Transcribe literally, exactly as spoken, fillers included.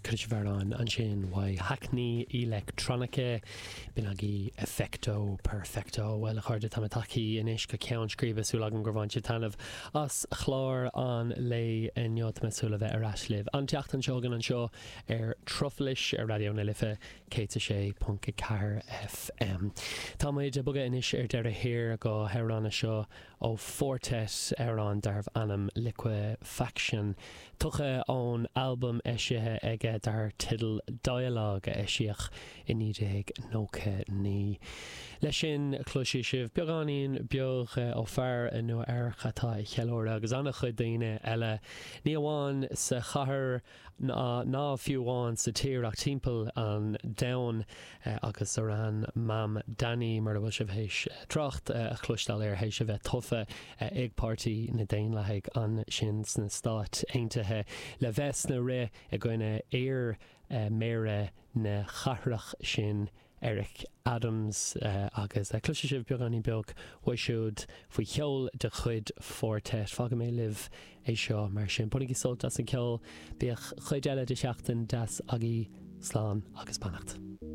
Chuala sibh amhrán ansin uaidh Hackney Electronica b'in agaibh Effecto Perfecto Bhuel a chairde tá tagtha anois go ceann scríbe súil agam gur bhain sibh taitneamh as chlár an lae inniu tá mé ag súil le bheith ar ais libh. An tseachtain seo chugainn anseo ar Truflais ar Raidió na Life céad sé ponc ceathair FM. Tá muid ag bogadh anois ar deireadh thiar go hamhrán seo ó Four Tet amhrán darbh ainm Liquefaction. Tugtha ón albam eisithe aige dar teideal Dialogue a eisíodh i naoi déag nócha naoi. Leis sin cloisfidh sibh beagáinín beag ó fear i Nua Eabhrac atá ag ceiliúradh agus an-chuid daoine eile ní amháin sa chathair ná ná fiú amháin sa tír ach timpeall an domhain agus Zohran Mamdani mar a bhfuil sibh théis trácht a chloisteáil air théis a bheith tofa ag Páirtí na Daonlathaigh ansin sna Stáit Aontaithe le bheith sna rith i gcoinne iar méara na cathrach sin Eric Adams agus cloisfidh sibh beagáinín beag uaidh siúd faoi cheol de chuid Four Tet. Fágfaidh mé libh é seo mar sin. Bainigí sult as an ceol, bíodh cuid eile de sheachtain deas agaibh slán agus beannacht.